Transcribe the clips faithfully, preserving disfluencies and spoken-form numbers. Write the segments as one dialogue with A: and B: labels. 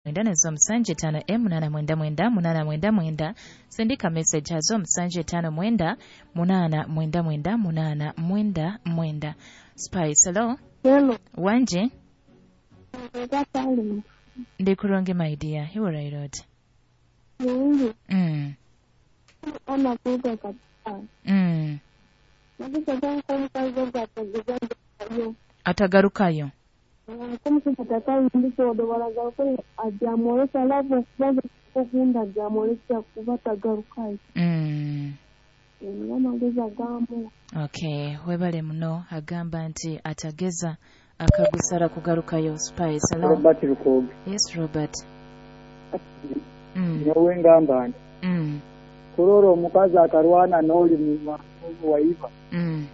A: Mwenda nazo musanju etaano emu munaana mwenda mwenda munaana mwenda mwenda. Sindika message hazo musanju etaano mwenda munaana mwenda mwenda munaana mwenda mwenda. Spice, hello.
B: Hello.
A: Wanje
B: Ega Salim.
A: Ndi kurungi my dear, hiwuraire oti?
B: Mungu
A: mm.
B: ona kuga kabisa.
A: Mm.
B: Nagisa nko omukazi ogwo atagarukayo.
A: Atagarukayo.
B: Nko omusajja tatayindisa baragaruka ajamwolesa love okubaza okunda ajamwolesa kuba atagarukayo.
A: Mm.
B: Niyo amagezi agamu.
A: Okay, webale muno. Agamba nti atageza akagusara kugarukayo. Spice, hello.
C: Robert Lukoge.
A: Yes, Robert. Mm.
C: Nyowe ngamba nti
A: Mm.
C: kurora omukazi akarwana n'oli mu waiba
A: Mm.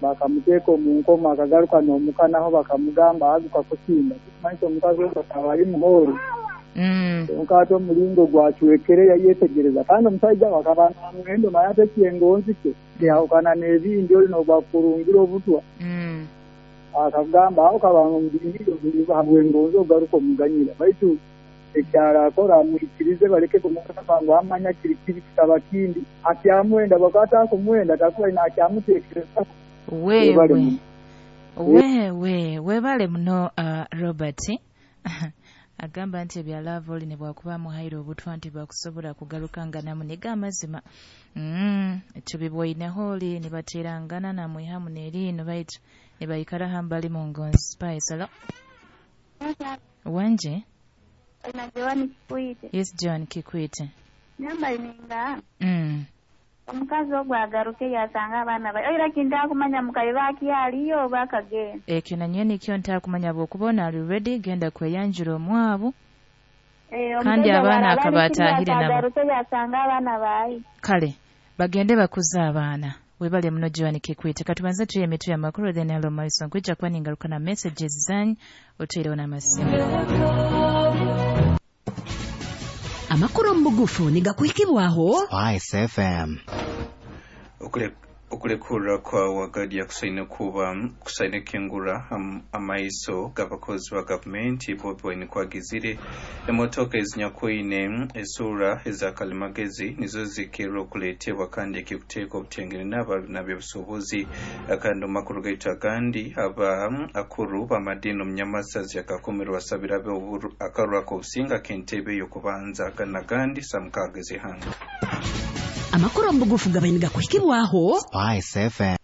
C: bakamuteeka omu nkomo akagaruka n'omuka naho bakamugamba aguka kusimba kimanyisa omukazi ogwo akaba ari muhooro.
A: Mm.
C: Kyonka ate omulingo gwacwekere yayetegereza kandi omusajja we akaba namuhendo naye ate ekyengonzi kye kyahukana n'ebindi oli n'ogwakurungira obutwa.
A: Mm.
C: Akagamba aho kabanga omubingi habwengonzi ogaruka omuganyira baitu ekyaro akora amwikirize baleke kumugamba ngu amanya kiri kiri kitaba kindi akyamwenda bwakaba atakumwenda takuba nakyamuteekereza. Webale
A: Wewe
C: muno.
A: Wewe webale muno uh, Robert. Agamba nti ebya love oli ne bwakuba amuhaire obutwa nti bwakusobola kugaruka nga namuniga amazima. Mm, tubibwoineho oli ne bateerangana namwihamu n'eriino baitu ne baikara hambali mu ngonzi. Spice, hello. Wanje.
B: Na Joan Kikwite.
A: Yes, Joan Kikwite.
B: Namba ninga
A: Mm.
B: omukazi ogwo agaruke yasanga abaana ba oira kintakumanya mukayi bakyaliyo oba akagenda.
A: Ekyo nanye nikyo ntakumanya bw'okubona ali ready genda kweyanjura omwabu.
B: Eh,
A: Kandi
B: omusajja
A: abaana
B: bw'araba
A: akaba
B: ali kiri
A: atahire nabo.
B: agaruke yasanga abaana bayi.
A: Kale bagende bakuze abaana. Webale muno Joan Kikwite. Katubanze tuye emitwe y'amakulu then hello maiso nkwijja kuba ningaruka na messages zanyu oteireho n'amasimu.
D: Amakuru omu bugufu nigakuhikibwaho
E: Spice F M.
F: Okule okulekura kwa wagadi kusaine kuba kusaine kengura am, amaiso g'abakozi ba gavumenti Bobi Wine kwagizire emotoka ezinyakwine esura ezakalimagezi nizo zikirwa okuleetebwa kandi ekikuteeka obutengere n'ab'obusuubuzi. Kandi omu makuru gaitu agandi aba akuru b'amadiini omu Nyamasazi akakomerwa basabira abe akaruru ak'obusinga k'entebe y'okubanza n'agandi samukaaga ez'eihanga.
D: Amakuru omu bugufu gabaire nigakuhikibwaho
E: Spice F M.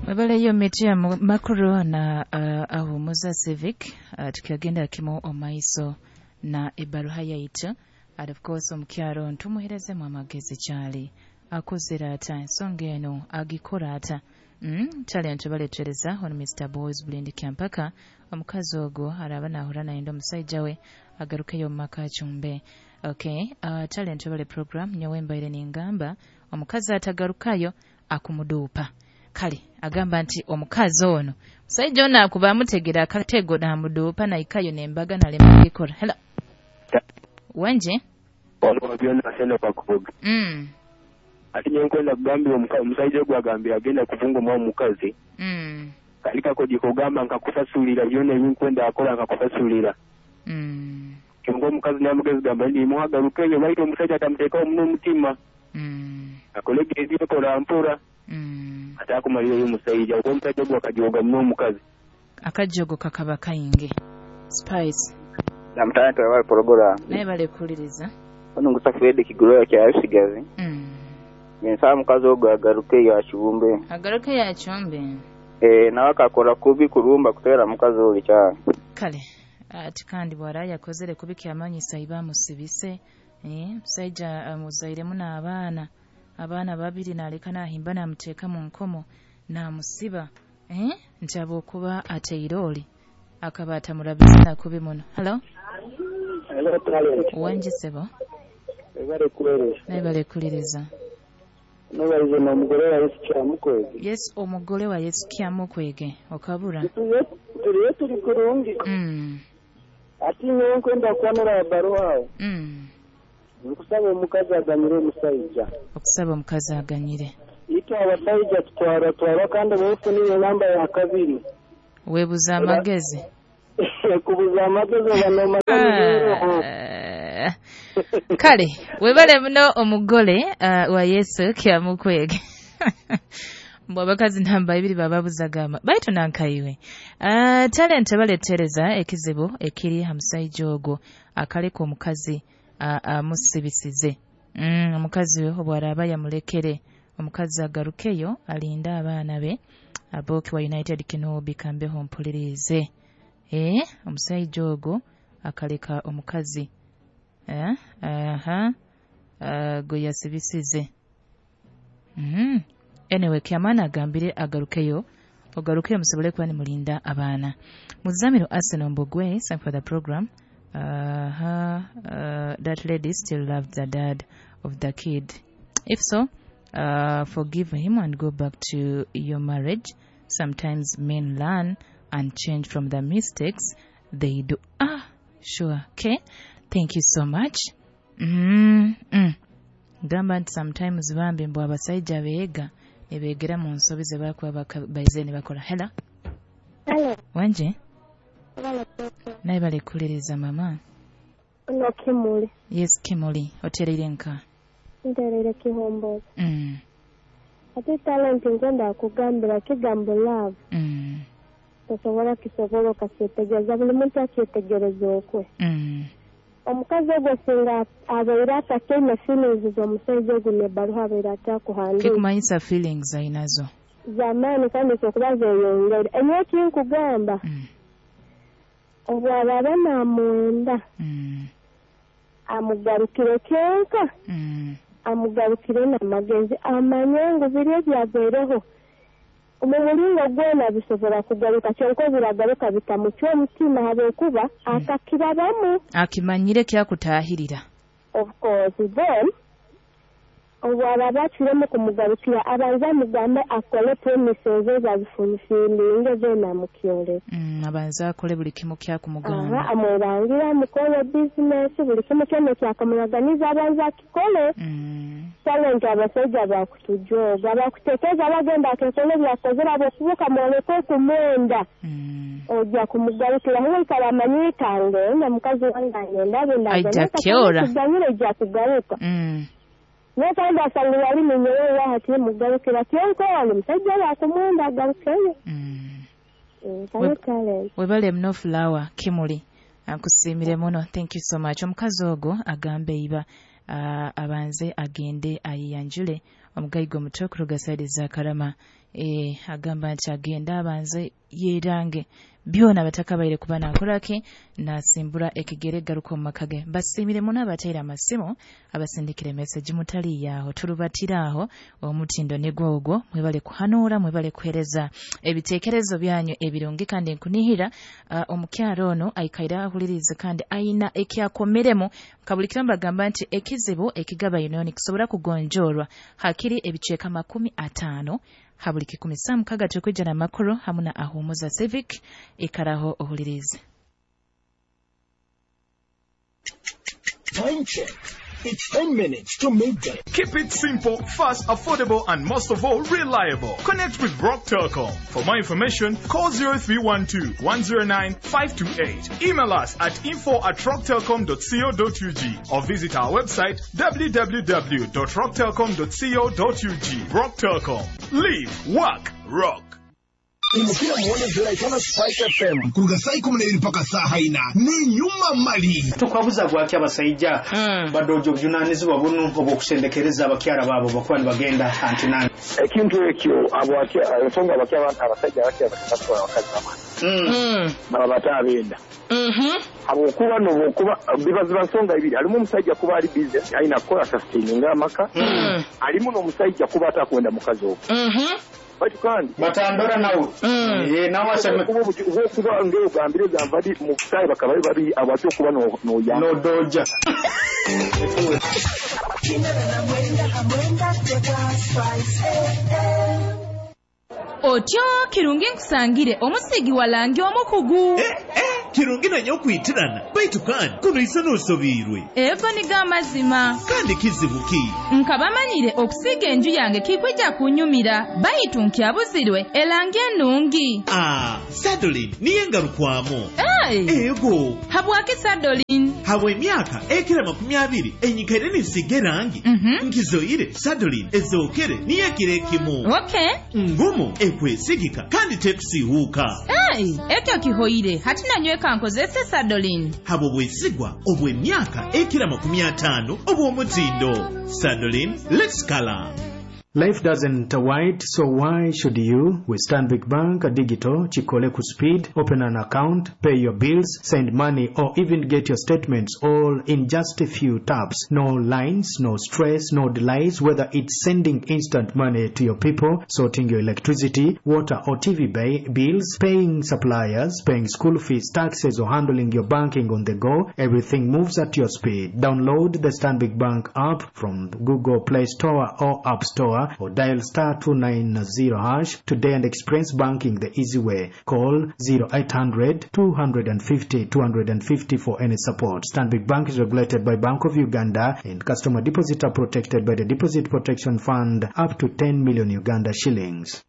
A: Webaleyo miti ya makuru na uh, ahumuza civic uh, tukiagenda kimu omaiso na ebaruha yaitu. And of course omukyaro ntumuherezemu amagezi kyali akozera ata ensonga eno agikora ata. Mm, kyali ntubaletereza ono Mister Boys Blend Kampaka omukazi ogwo araba nahura nayenda omusajja we agarukeyo mu maka akyumbe. Okay, uh, talent bale program nyowe mbaire ningamba omukazi atagarukayo akumuduupa. Kale agamba nti omukazi ono musajja ono akuba amutegera akatego n'amuduupa naikayo n'embaga nalema gikora. Hello. Wanje?
G: Waliwo byonna sena bakuvuga.
A: Mm.
G: Ate nye nkwenda kugambira omusajja ogwo agambira agenda kuvunga omwa omukazi.
A: Mm.
G: Kali kakodi kugamba nkakusasulira byonna ebinkwenda akola nkakusasulira.
A: Mm.
G: Kyonka omukazi n'amugezi gamba nti muhagarukeyo baitu omusajja atamuteekawo muno omutima.
A: Mm.
G: Akolege ebyekola mpola.
A: Mm.
G: Ate akumalirayo omusajja kuba omusajja ogwo akajoga muno omukazi.
A: Akajogo kakaba kayinge. Spice.
H: Namutana twabale program.
A: Naye bale kuwuliriza.
H: Ono ngusa Fred Kigulora kya Rusigazi.
A: Mm.
H: Nsaba mukazi ogwo agarukeyo akiwumbe.
A: Agarukeyo akyumbe.
H: Eh, nawe akakola kubi kulumba kuteera mukazi oli kyalo.
A: Kale ati kandi bw'ara yakozere kubi kyamanyisa iba musibise. Eh, musajja amuzairemu n'abaana abaana babiri n'aleka n'ahimba n'amuteeka mu nkomo n'amusiba. Eh, nti ab'okuba ateire oli akaba atamulabiza nakubi muno. Hello.
C: Hello, talent.
A: Wangi ssebo.
C: Webale kuweereza.
A: Naye bale kuwuliriza.
C: Nobalize n'omugole wa Yesu Kyamukwege.
A: Yes, omugole wa Yesu Kyamukwege okabura.
C: Turiyo turi kurungi.
A: Mm.
C: Ati nyowe nkwenda kwanura baruha aho.
A: Mm.
C: Nkusaba omukazi aganyire omusajja.
A: Okusaba omukazi aganyire.
C: Itwe abasajja tutwara twara kandi bofuniye namba ya kabiri.
A: Weebuza amagezi.
H: Kubuza amagezi oba n'omanya.
A: Kale webale muno omugole uh, wa Yesu kyamukwege. Mbu abakazi namba ibiri bababuzagama baitu nankaiwe. Uh, talent baletereza ekizibu ekiri hamusaija ogwo akaleka omukazi amusibisize. Uh, mm, omukazi obwaraba yamulekere omukazi agarukeyo alinda abaana be aboki wa United Kinobi kambeho mpulirize. Eh, omusaija ogwo akaleka omukazi eh aha uh, go yasibisize. Mhm. Anyway, kyamana agambire agarukeyo ogarukeyo musobole kuba ni mulinda abaana. Muzamiro Arsenal Mbogwe, thank for the program. Uh, uh, that lady still loved the dad of the kid. If so, uh, forgive him and go back to your marriage. Sometimes men learn and change from the mistakes they do. Ah, sure. Okay. Thank you so much. Mm -mm. Gamba nti sometimes bambi mbu abasajja beega ne beegera mu nsobi ze bakuba baize ne bakola. Hello.
I: Hello.
A: Wanje? Naye balekuliriza mama.
I: Ono Kimuli.
A: Yes, Kimuli. Otereire nka?
I: Ntereire Kihomboza.
A: Mm.
I: Ate talenti ngenda kugambira kigambo love.
A: Mm.
I: Tosobola kisobola okakyetegereza buli muntu akyetegereza okwe.
A: Mm.
I: Omukazi ogwo singa abeera atakeine feelings z'omusajja ogwo n'ebbaluha abeera atakuhandiika.
A: Kikumanyisa feelings ayinazo.
I: Z'amaanyi kandi okuba zeeyongera. Enyo ekinkugamba.
A: Mm.
I: Obw'aba namwenda.
A: Mm.
I: Amugarukire kyenka.
A: Mm.
I: Amugarukire n'amagezi amanye ngu biri ebyagwereho. Omu mulingo gwona bisobola kugaruka kyonka biragaruka bitamucwa omutima habwokuba akakirabamu.
A: Akimanyire kyakutaahirira.
I: Of course, then obw'aba acwiremu kumugarukira abanza amugambe akole promises ezazifulfilinge then amukyoleka.
A: Mm, abanza akole buli kimu kyakumugamba.
I: Aha, amwerangira amukole bizinesi buli kimu kyonna kyakamulaganiza abanza akikole.
A: Mm.
I: Talenti abasajja bakutujoga bakutekeeza bagenda akekole byakozera bwokubuka mwoleke okumwenda.
A: Mm.
I: Ojja kumugarukira huikala amanyikange na mukazi wange anyenda benda
A: Aija kyora.
I: Kuganyira ejja kugaruka.
A: Mm.
I: Naye kandi asanga yali munyowe hati mugarukira kyonka wano musajja wakumwenda agarukeyo.
A: Mm.
I: Mm, talent.
A: Webale muno Flower Kimuli. Nkusiimire muno. Thank you so much. Omukazi ogwo agambe iba uh, abanze agende ayiyanjule omugayigo omuto okuruga saidi za Karama. E, agamba nti agende abanze yeerange byona batakabaire kuba nakolaki nasimbura ekigere garuka mu maka ge. Basiimire muno abateera amasimu abasindikire message mutali yaaho tulubatira aho omutindo ne gwogwo mwebale kuhanuura mwebale kuhereza ebiteekerezo byanyu ebirungi kandi nkunihira uh, omukyalo ono aikaira ahulirize kandi ayina ekyakomeremu kabulikira mbagamba nti ekizibu ekigaba union kisobola kugonjolwa hakiri ebicheka makumi ataano habuli kikumi saa mukaga tukwijja na makuru hamuna ahumuza civic ikaraho ohulirize.
J: Time check. It's ten minutes to midday.
K: Keep it simple, fast, affordable, and most of all, reliable. Connect with Rock Telcom. For more information, call zero three one two, one zero nine, five two eight. Email us at info at rocktelcom dot co dot ug or visit our website w w w dot rock telcom dot co dot ug. Rock Telcom. Live, work, rock.
J: Imukira muone ziraitana Spice F M kuruga saa ikumi na ibiri mpaka saa haina ni nyuma mali
L: tukwabuza gwaki abasajja mm. badojo obujunanizibwa buno obw'okusendekereza abakyala baabo bakuba nibagenda antinani
G: ekintu ekyo abo ensonga abakyala abasajja abakyala batwala abakazi bamwe
M: mm.
G: baba bataabenda
M: mm-hmm.
G: habwokuba nobwokuba bibaziba nsonga ibiri alimu omusajja kuba ali busy alina kukola sustaininga amaka
M: mm.
G: alimu n'omusajja kuba atakwenda mukazi ogwo
M: mm-hmm.
G: batu kandi
L: batandora nawe
M: mm.
L: ye nawe aseme
G: kuba ngeo gambire gambadi mu sai bakaba bari abatyo kuba no no ya
L: no doja
A: Otyo kirungi nkusangire omusigi walangi omukugu
N: eh, eh.
M: Kirungi nanyo okwitirana baitu kandi kuno isa n'osobiirwe.
A: Ego nigo amazima.
M: Kandi kizibu ki?
A: Nkaba manyire okusiiga enju yange kikwija kunyumira baitu nkyabuzirwe erangi enungi.
M: Ah, Sadolin niyo engarukwamu.
A: Hey.
M: Ego.
A: Habwaki Sadolin?
M: Habwa emyaka ekira makumi abiri enyikaire ninsiiga erangi.
A: Mm -hmm.
M: Nkizoire Sadolin ezookere niyo ekiro ekimu.
A: Okay.
M: Ngumu ekwesigika kandi tekusiihuuka.
A: Hey, ekyo kihoire hati nanyweka nkozese Sadolin.
M: Habwo bwesigwa obw'emyaka ekira makumi ataano obw'omutindo. Sadolin, let's color.
L: Life doesn't wait, so why should you? With Stanbic Bank Digital, Chikole Speed, open an account, pay your bills, send money, or even get your statements all in just a few taps. No lines, no stress, no delays, whether it's sending instant money to your people, sorting your electricity, water or T V bills, paying suppliers, paying school fees, taxes, or handling your banking on the go, everything moves at your speed. Download the Stanbic Bank app from Google Play Store or App Store, or dial star two nine zero hash today and experience banking the easy way. Call zero eight hundred two fifty two fifty for any support. Stanbic Bank is regulated by Bank of Uganda and customer deposits are protected by the Deposit Protection Fund up to ten million Uganda shillings.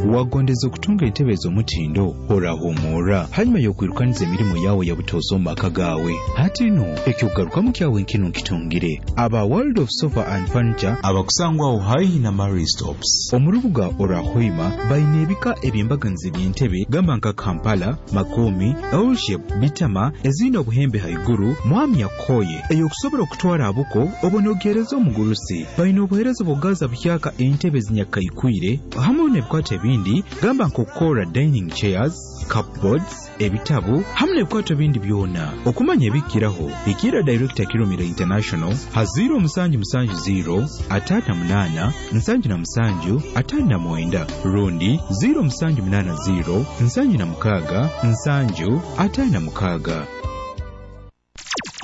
N: Wagondeza okutunga entebe ez'omutindo orahumura hanyuma y'okwirukaniza emirimu yawe ya butozo mu maka gawe. Hati no ekyokugarukamu kyawe nkino nkitungire aba World of Sofa and Furniture
O: abakusangwaho haihi na Mary Stops
N: omu rubuga Orahoima baine ebika eby'embaganizi by'entebe gamba nka Kampala, Makomi, L-shape, Bitama ezine obuhembe haiguru mwami yakoye eyokusobola okutwara abuko obonogereza omugurusi. Baine obuhereza bugaza buhyaka entebe zinyakaikwire hamwe n'ebikwate bindi gamba nk'okukora dining chairs, cupboards, ebitabu hamwe n'ebikwato bindi byona. Okumanya ebikiraho ikira Director Kirumira International ha zero musanju musanju zero atano munana nsanju na musanju atano na mwenda rundi zero musanju munana zero nsanju na mukaga nsanju atano na mukaga.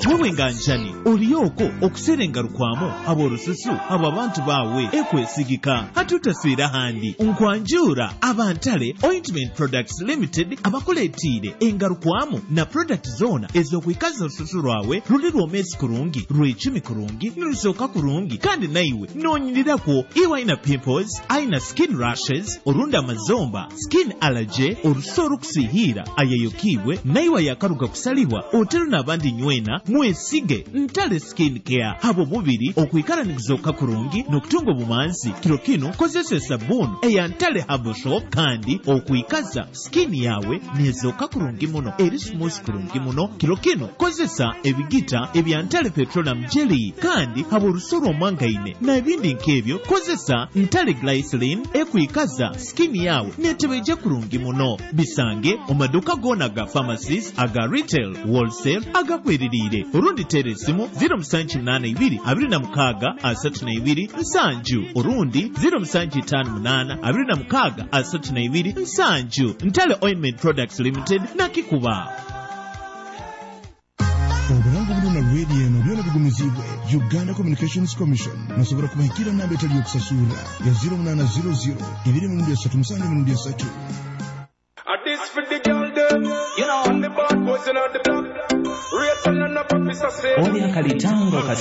M: Wewe nganjani oliyoko okuserengarukwamu ab'orususu abo abantu bawe ekwesigika hatutaswira handi nkwanjura abantale Ointment Products Limited abakuleetiire engarukwamu na product zona ez'okwikaza orususu rwawe ruli rwomesi kurungi rwecumi kurungi nirusooka kurungi kandi naiwe noonyirirakwo iwe aina pimples aina skin rashes orundi amazomba skin allergy orusu orukusihiira ayeyokiibwe naiwe yakaruga kusalibwa otero n'abandi nywena mwesige Ntale Skin Care habo mubiri okwikara nikuzoka kurungi n'okutunga obumanzi. Kiro kino kozesa esabuni eya Ntale Herbal Shop kandi okwikaza skin yawe nezoka kurungi muno eri smooth kurungi muno. Kiro kino kozesa ebigita ebya Ntale Petroleum Jelly kandi habo orusoro omwangaine n'ebindi nk'ebyo kozesa Ntale Glycerin ekwikaza skin yawe netebeje kurungi muno. Bisange omaduka gona ga pharmacies aga retail wholesale agakweririire orundi tera esimu zero musanju munana ibiri abiri na mukaga asatu na ibiri nsanju orundi zero musanju itaano munana abiri na mukaga asatu na ibiri nsanju. Ntale Ointment Products Limited nakikuba.
J: Obulango buno na radio eno byona bigumizibwe Uganda Communications Commission. Nosobola kubahikira namba etali yokusasura ya zero munana zero zero ibiri mirundi esatu musanju mirundi esatu.
P: This for the girl them, you know, and the bad boys in the block. Race and up officer say.